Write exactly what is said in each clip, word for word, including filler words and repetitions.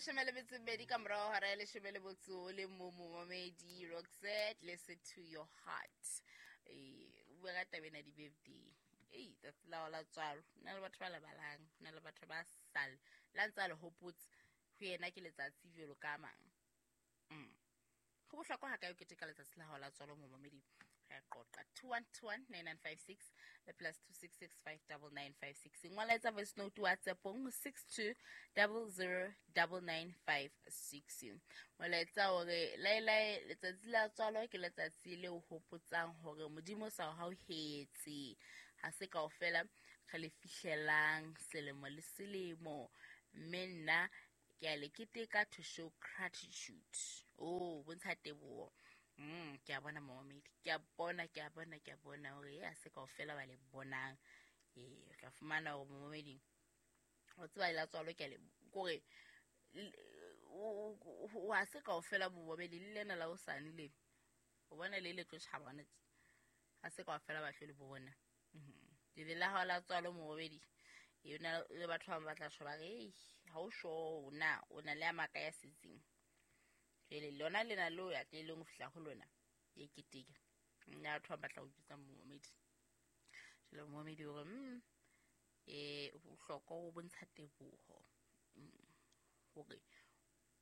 Leshome le metso e mmedi ka morao hora ya leshome le motso o le mong, momamedi. Roxette, listen to your heart. Eh, o bua ka taba ena di-birthday. Ei, tsatsi la hao la tswalo. Ho na le batho ba lebalang, ho na le batho ba sale la ntse a le hopotse ho yena ke letsatsi jwalo ka a mang. Mm. Go bohlokwa ha kae o keteka letsatsi la hao la tswalo, momamedi? Re a qoqa. Two one two one nine nine five six le plus two six six five double nine five six. Ngola, etsa voice note WhatsAppong six two double zero double nine five six. Molaetsa hore laelae letsatsi la tswalo ke letsatsi le o hopotsang hore Modimo sa o hauhetse, ha se kaofela re le fihlelang selemo le selemo, mme nna ke a le keteka to show gratitude, o bontsha teboho. mm ke a bona, momamedi, ke a bona, ke a bona, ke a bona hore e a se kaofela ba le bonang. Ee, o tla fumana hore, momamedi, o tseba la tswalo ke a le kore ha se kaofela, momamedi, le lena la hosane le o bona le le tlo tjhaba hona tje, ha se kaofela ba tlo le bona. Lele la hao la tswalo, momamedi, e na le batho ba bang ba tla tjho ba re, "Ei, ha o sure na o na le a maka ya setseng." Jwale lona lena leo ya tleleng ho fihla ho lona e keteka nna batho ba batla ho jwetsa, momamedi. Jwale momamedi hore mm eh bohlokwa ho bontsha teboho mm, hore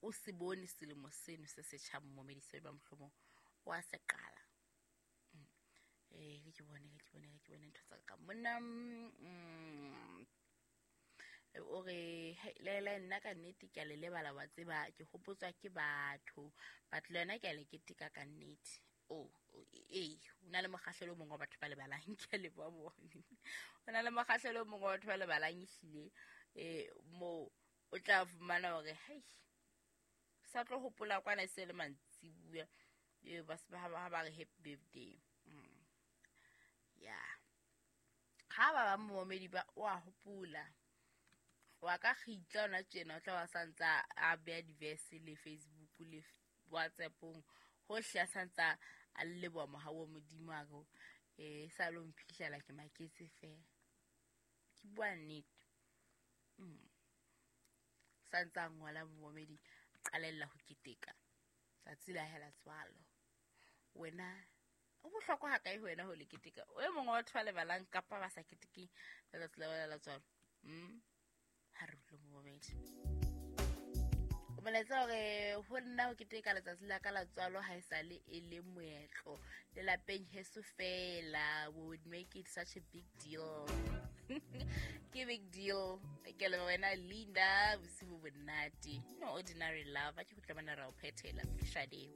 o se bone selemo seno se setjha, momamedi, se ba mohlomong o a se qala. eh ke bone ke bone ke bone ntho tsa ka monna. mm, o re, "Hei, Lela, nna ka nnete ke a le lebala, wa tseba ke hopotswa ke batho, but le yona ke a le keteka ka nnete." Oh, ee, o na le mokgahlelo o mongwe wa batho ba lebalang. Ke a leboha bone, o na le mokgahlelo o mongwe wa batho ba lebalang ehlile. um moo o tla fumana hore hei, sa tlo hopola kwana e se le mantsibuya, ee, ba se ba ha ba re happy birthday. mm. Ya ha ba bang, momamedi, ba o a hopola wa ka kgitla ona tjena, o tla ba santsa a beha di-verse le Facebook le WhatsAppong hohle, a santsa a leboha mohau wa Modimo, a re um sa lo mphihlela, ke maketse fela, ke bua nnete. mm. Santsa a ngola, momamedi, qalella ho keteka tsatsi la hela tswalo. Wena, o bohlokwa ha kae ho wena ho le keteka? O e mongwe wa batho ba lebalang kapa ba sa ketekeng letsatsi la bona la tswalo? mm. Ha re utlwe, momamedi. O molaetsa hore ho nna ho keteka letsatsi la ka la tswalo ha e sale e le moetlo lelapeng heso fela. We would make it such a big deal. Ke big deal. Ke leboha wena, Linda, bosibu bonate. No Ordinary Love a ke go tla bona ra o phethela shade.